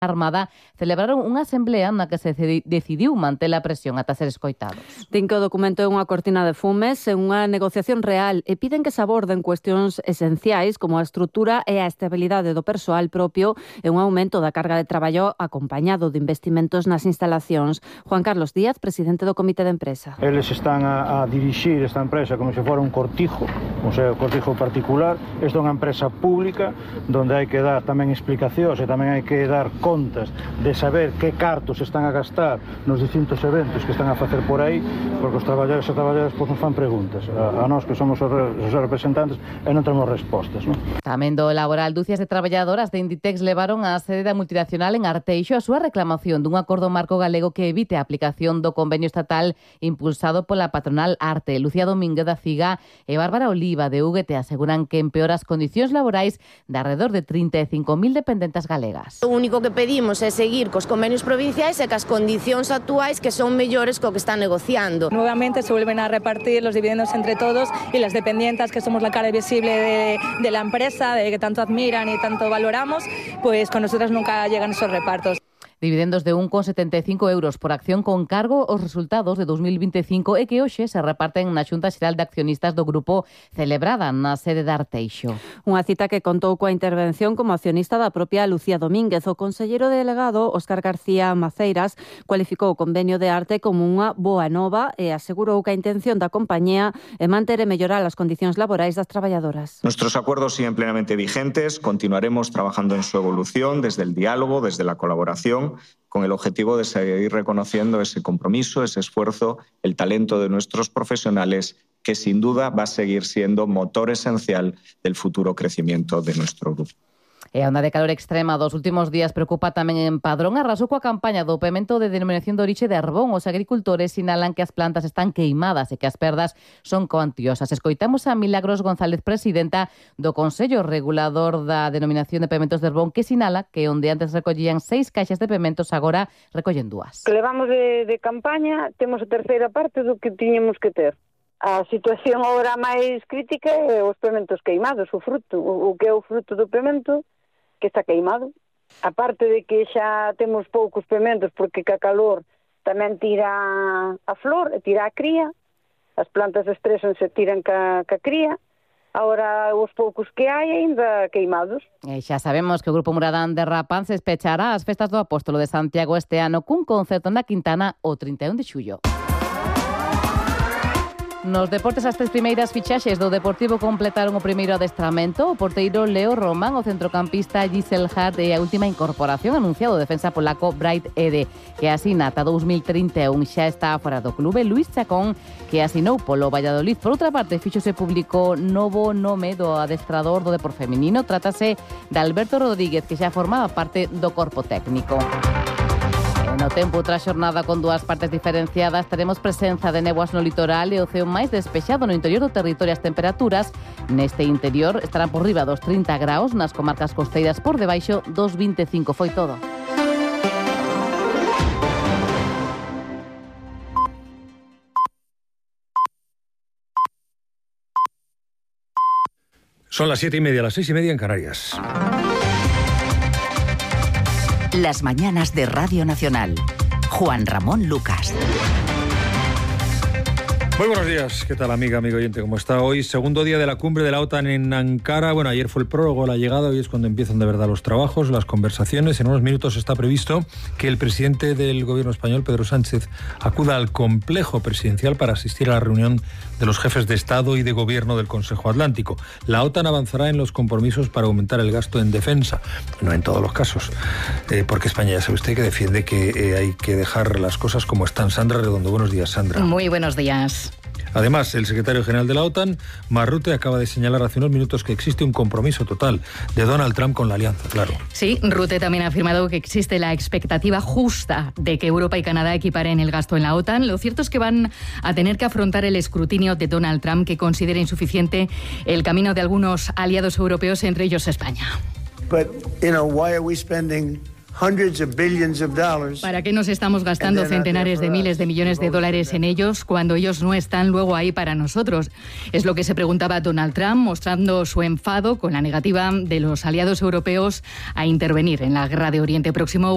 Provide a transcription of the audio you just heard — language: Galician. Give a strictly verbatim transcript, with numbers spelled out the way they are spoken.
Armada celebraron unha asamblea na que se decidiu manter a presión ata ser escoitados. Din que o documento é unha cortina de fumes en unha negociación real e piden que se aborden cuestións esenciais como a estrutura e a estabilidade do persoal propio e un aumento da carga de traballo acompañado de investimentos nas instalacións. Juan Carlos Díaz, presidente do Comité de Empresa. Eles están a, a dirixir esta empresa como se fora un cortijo, o sea, un cortijo particular. Esta é unha empresa pública onde hai que dar tamén explicacións e tamén hai que dar contas de saber que cartos están a gastar nos distintos eventos que están a facer por aí, porque os traballadores e traballadoras pois nos fan preguntas a, a nós que somos os, re, os representantes e non temos respostas, non? Tamén do laboral, dúcias de traballadoras de Inditex levaron á sede da multinacional en Arteixo a súa reclamación dun acordo marco galego que evite a aplicación do convenio estatal impulsado pola patronal Arte. Lucía Domínguez da Ciga e Bárbara Oliva de U G T aseguran que empeora as condicións laborais de alrededor de trinta e cinco mil dependentes galegas. O único que pedimos é seguir cos convenios provinciais e cas condicións actuais que son mellores co que están negociando. Nuevamente se vuelven a repartir los dividendos entre todos y las dependientas, que somos la cara visible de, de la empresa, de que tanto admiran y tanto valoramos, pues con nosotras nunca llegan esos repartos. Dividendos de un coma setenta e cinco euros por acción con cargo aos resultados de dos mil vinte e cinco e que hoxe se reparten na Xunta Xeral de Accionistas do Grupo celebrada na sede de Arteixo. Unha cita que contou coa intervención como accionista da propia Lucía Domínguez. O conselleiro delegado Óscar García Maceiras cualificou o convenio de Arte como unha boa nova e asegurou que a intención da compañía é manter e mellorar as condicións laborais das traballadoras. Nuestros acuerdos siguen plenamente vigentes, continuaremos trabajando en su evolución desde el diálogo, desde la colaboración, con el objetivo de seguir reconociendo ese compromiso, ese esfuerzo, el talento de nuestros profesionales, que sin duda va a seguir siendo motor esencial del futuro crecimiento de nuestro grupo. E a onda de calor extrema dos últimos días preocupa tamén en Padrón. Arrasou coa campaña do pemento de denominación de orixe de Arbón. Os agricultores sinalan que as plantas están queimadas e que as perdas son cuantiosas. Escoitamos a Milagros González, presidenta do Consello Regulador da Denominación de Pementos de Arbón, que sinala que onde antes recollían seis caixas de pementos agora recollen dúas. Que levamos de, de campaña, temos a terceira parte do que tiñamos que ter. A situación agora máis crítica é os pementos queimados, o fruto, o, o que é o fruto do pemento que está queimado. A parte de que xa temos poucos pementos porque ca calor tamén tira a flor e tira a cría, as plantas estresan se tiran ca, ca cría, agora os poucos que hai ainda queimados. E xa sabemos que o Grupo Muradán de Rapán se espechará as festas do Apóstolo de Santiago este ano cun concerto na Quintana o trinta e un de xullo. Nos deportes, as tres primeiras fichaxes do Deportivo completaron o primeiro adestramento. O porteiro Leo Roman, o centrocampista Giselle Hart e a última incorporación anunciado o defensa polaco Bright Ede, que asina ata dous mil trinta e un. Xa está fora do clube Luis Chacón, que asinou polo Valladolid. Por outra parte, fíxose público novo nome do adestrador do Depor feminino. Trátase de Alberto Rodríguez, que xa formaba parte do corpo técnico. No tempo, outra xornada con dúas partes diferenciadas. Teremos presenza de néboas no litoral e o ceo máis despexado no interior do territorio. As temperaturas neste interior estarán por riba dos trinta graus, nas comarcas costeiras por debaixo dos vinte e cinco. Foi todo. Son las siete y media, las seis y media en Canarias. Las mañanas de Radio Nacional. Juan Ramón Lucas. Muy buenos días, ¿qué tal amiga, amigo oyente? ¿Cómo está hoy? Segundo día de la cumbre de la OTAN en Ankara. Bueno, ayer fue el prólogo, la llegada, hoy es cuando empiezan de verdad los trabajos, las conversaciones. En unos minutos está previsto que el presidente del gobierno español, Pedro Sánchez, acuda al complejo presidencial para asistir a la reunión de los jefes de Estado y de Gobierno del Consejo Atlántico. La OTAN avanzará en los compromisos para aumentar el gasto en defensa, no en todos los casos, eh, porque España, ya sabe usted, que defiende que eh, hay que dejar las cosas como están. Sandra Redondo, buenos días, Sandra. Muy buenos días. Además, el secretario general de la OTAN, Mark Rutte, acaba de señalar hace unos minutos que existe un compromiso total de Donald Trump con la alianza, claro. Sí, Rutte también ha afirmado que existe la expectativa justa de que Europa y Canadá equiparen el gasto en la OTAN. Lo cierto es que van a tener que afrontar el escrutinio de Donald Trump, que considera insuficiente el camino de algunos aliados europeos, entre ellos España. But, you know, why are we spending ¿Para qué nos estamos gastando centenares de miles de millones de dólares en ellos cuando ellos no están luego ahí para nosotros? Es lo que se preguntaba Donald Trump, mostrando su enfado con la negativa de los aliados europeos a intervenir en la guerra de Oriente Próximo.